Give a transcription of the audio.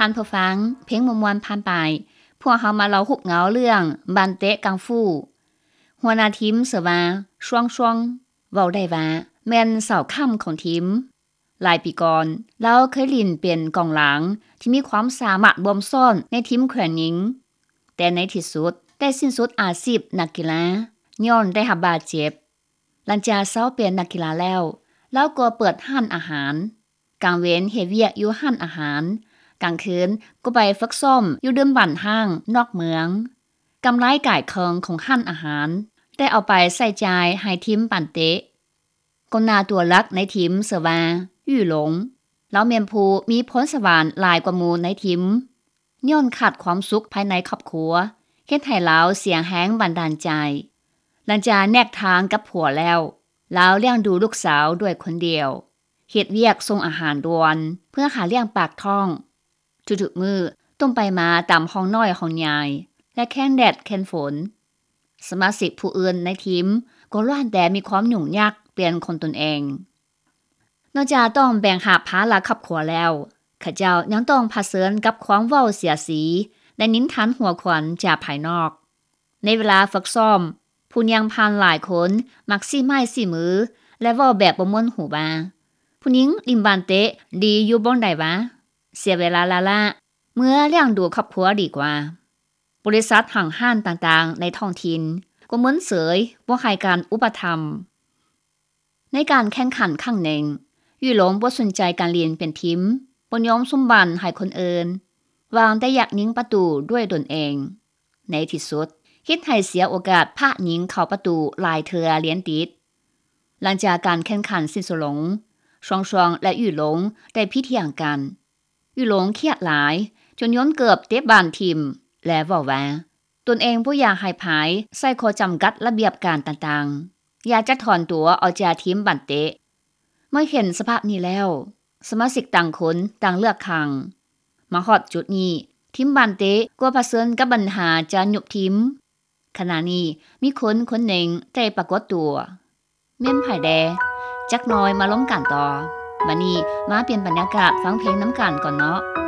ທ່ານຜູ້ຟັງ, ເພງມ່ວນໆຜ່ານໄປ, ພວກເຮົາມາເລົ່າຮູບເງົາເລື່ອງບານເຕະກັງຟູ. ຫົວໜ້າທີມຊື່ວ່າ ຊວງຊວງ, ເວົ້າໄດ້ວ່າແມ່ນເສົາຄ້ຳຂອງທີມ. ຫຼາຍປີກ່ອນ, ລາວເຄີຍຫຼິ້ນເປັນກອງຫຼັງທີ່ມີຄວາມສາມາດບົ່ມຊ້ອນໃນທີມແຂວງຍິງ, ແຕ່ໃນທີ່ສຸດໄດ້ສິ້ນສຸດອາຊີບນັກກິລາ ຍ້ອນໄດ້ຮັບບາດເຈັບ. ຫຼັງຈາກເຊົາເປັນນັກກິລາແລ້ວ, ລາວກໍເປີດຮ້ານອາຫານ. ກາງເວັນເຮັດວຽກຢູ່ຮ້ານອາຫານ, ກາງຄືນກໍໄປຝຶກຊ້ອມຢູ່ດື່ມບ້ານຮ້າງນອກເມືອງ. ກຳໄລກາຍເຄິ່ງຂອງຮ້ານອາຫານໄດ້ເອົາໄປໃຊ້ຈ່າຍໃຫ້ທີມບານເຕະ. ກອງໜ້າຕົວຫຼັກໃນທີມຊື່ວ່າ ຫຍູ່ຫຼົງ. ລາວແມ່ນຜູ້ມີພອນສະຫວັນຫຼາຍກວ່າໝູ່ໃນທີມ. ຍ້ອນຂາດຄວາມສຸກພາຍໃນຄອບຄົວ, ເຮັດໃຫ້ລາວເສຍແຮງບັນດານໃຈ. ຫຼັງຈາກແຍກທາງກັບຜົວແລ້ວ, ລາວລ້ຽງດູລູກສາວດ້ວຍຄົນດຽວ, ເຮັດວຽກສົ່ງອາຫານດ່ວນເພື່ອຫາລ້ຽງປາກທ້ອງ. ທຸກໆມື້ຕ້ອງໄປມາຕາມຫ້ອງນ້ອຍຫ້ອງໃຫຍ່ ແລະ ແຄມແດດແຄມຝົນ. ສະມາຊິກຜູ້ອື່ນໃນທີມກໍລ້ວນແຕ່ມີຄວາມຫຍຸ້ງຍາກປ່ຽນຂອງຕົນເອງ. ນອກຈາກຕ້ອງແບກຫາບພາລະຄອບຄົວແລ້ວ, ເຂົາເຈົ້າຍັງຕ້ອງຜະເຊີນກັບຄວາມເວົ້າເສຍດສີ ແລະ ນິນທານຫົວຂວັນຈາກພາຍນອກ. ໃນເວລາຝຶກຊ້ອມ, ຜູ້ຍ່າງຜ່ານຫຼາຍຄົນມັກຊີ້ໄມ້ຊີ້ມື ແລະ ເວົ້າແບບບໍ່ມ່ວນຫູວ່າ, ຜູ້ຍິງຫຼິ້ນບານເຕະດີຢູ່ບ່ອນໃດຫວາ? ເສຍເວລາລ້າໆ, ເມືອລ້ຽງດູຄອບຄົວດີກວ່າ. ບໍລິສັດຫ້າງຮ້ານຕ່າງໆໃນທ້ອງຖິ່ນກໍເມີນເສີຍບໍ່ໃຫ້ການອຸປະຖຳ. ໃນການແຂ່ງຂັນຄັ້ງໜຶ່ງ, ຫຍູ່ຫຼົງບໍ່ສົນໃຈການຫຼິ້ນເປັນທີມ, ບໍ່ຍອມສຸມບານໃຫ້ຄົນອື່ນ, ຫວັງແຕ່ຢາກຍິງປະຕູດ້ວຍຕົນເອງ. ໃນທີ່ສຸດ, ເຮັດໃຫ້ເສຍໂອກາດພາດຍິງເຂົ້າປະຕູຫຼາຍເທື່ອລຽນຕິດ. ຫຼັງຈາກການແຂ່ງຂັນສິ້ນສຸດລົງ, ຊວງຊວງ ແລະ ຫຍູ່ຫຼົງໄດ້ຜິດຖຽງກັນ. ຫຍູ່ຫຼົງຄຽດຫຼາຍຈົນໂຍນເກີບເຕະບານຖິ້ມ ແລະ ເວົ້າວ່າ ຕົນເອງບໍ່ຢາກໃຫ້ໃຜໃຊ້ຂໍ້ຈຳກັດລະບຽບການຕ່າງໆ, ຢາກຈະຖອນຕົວອອກຈາກທີມບານເຕະ. ເມື່ອເຫັນສະພາບນີ້ແລ້ວ, ສະມາຊິກຕ່າງຄົນຕ່າງເລືອກຂ້າງ. ມາຮອດຈຸດນີ້, ທີມບານເຕະກໍປະເຊີນກັບບັນຫາຈະຍຸບທີມ. ຂະນະນີ້ມີຄົນຄົນໜຶ່ງໄດ້ປາກົດຕົວ. ແມ່ນໃຜແດ່? ຈັກໜ່ອຍມາລົມກັນຕໍ່. ບັດນີ້ມາປ່ຽນບັນຍາກາດຟັງເພງນຳກັນກ່ອນເນາະ.